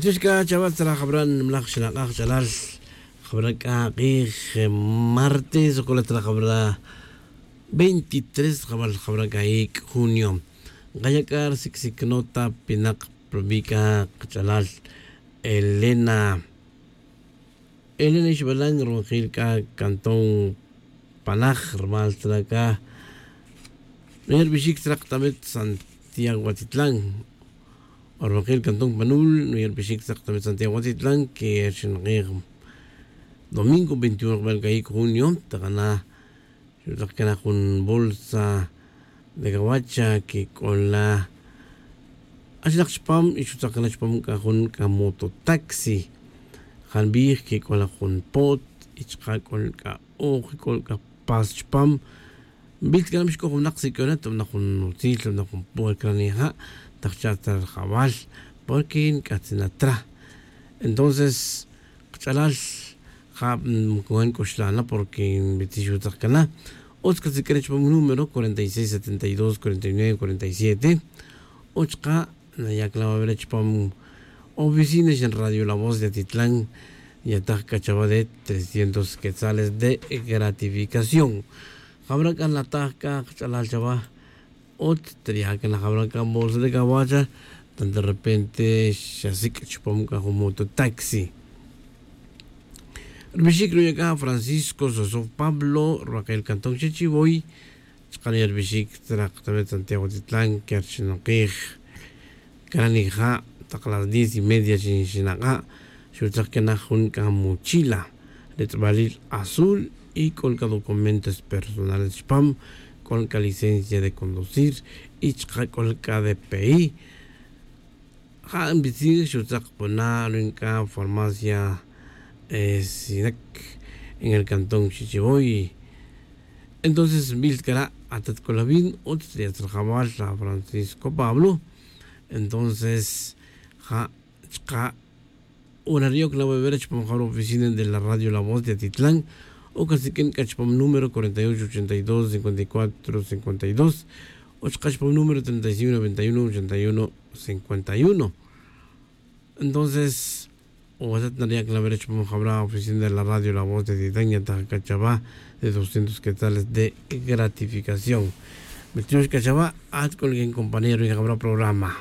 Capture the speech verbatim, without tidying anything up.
Chux c'a chaval tzra jabra' nimlaj xnak'aj ch'alal. Jabra' c'a k'ij martes o cula tzra jabra' veintitrés jabal jabra' c'a ic' junio. Nkaya' c'a risic' sic' nota pinak rubi' c'a kach'alal elena. Elena ixbalan ronojil c'a cantón panaj rumal tzra c'a nuya' rubixic tzra k'atamit santiago atitlan. Ronojil cantón panul nuya' rubixic tzra k'atamit santiago atitlan que rixinakij domingo veintiuno jbal c'a ic' junio. Takana xutzak cana jun bolsa de gawacha que c'ola achinak chupam y xutzak cana chupam c'a jun c'a mototaxi. Janbij que c'ola jun pot y chaka' c'ola c'a oj y c'ola c'a pas chupam. Nbil ta cana mixc'oj winak si c'ola ta winak jun utzil ta winak jun puerca nija' ta jcha' ta rajawal porque nc'atzin atra. Entonces kach'alal ja' nc'uxlana porque nbitzix utzak cana. Utz casiq'uene chupam número cuarenta y seis setenta y dos cuarenta y nueve cuarenta y siete. Uch ka' nayac la va a ver chupam oficina xan radio la voz de atitlan. Yataj c'a chava de trescientos quetzales de gratificación. Jabra' c'a nataj c'a kach'alal chava. Utz tria' c'a najabra' c'a bolsa de cawacha tan de repente xasic' chupam c'a jun mototaxi. Rubixic ruya' c'a francisco sosof pablo ruwakil cantón xechivoy. Chaka' nuya' rubixic tzra k'atamit santiago titlan que rixinakij. Cana nija' tak las diez y media xinak'a' xutzak cana jun c'a mochila ritz'balil azul y c'ola c'a documentos personales chupam. C'ola c'a licencia de conducir y chaka' c'ola c'a de pei. Ja' nbitzij xutzak pona' ruin c'a farmacia sinac en el cantón xichivoy. Entonces nbil ta cara' atat c'ola vin utz ri atzrajawal la francisco pablo. Entonces ja' chaka' ora ri' oc la va a ver chupam jabra' oficina de la radio la voz de atitlan. Oc asiq'uin c'a chupam número cuarenta y ocho ochenta y dos cincuenta y cuatro cincuenta y dos. O chaka' chupam número treinta y cinco noventa y uno ochenta y uno cincuenta y uno. Entonces o atat nariya' c'a la va a ver chupam jabra' oficina de la radio la voz de atitlan yataj c'a chava de doscientos quetzales de gratificación. Mitiyox c'a chava at c'ola quin compañero y jabra' programa.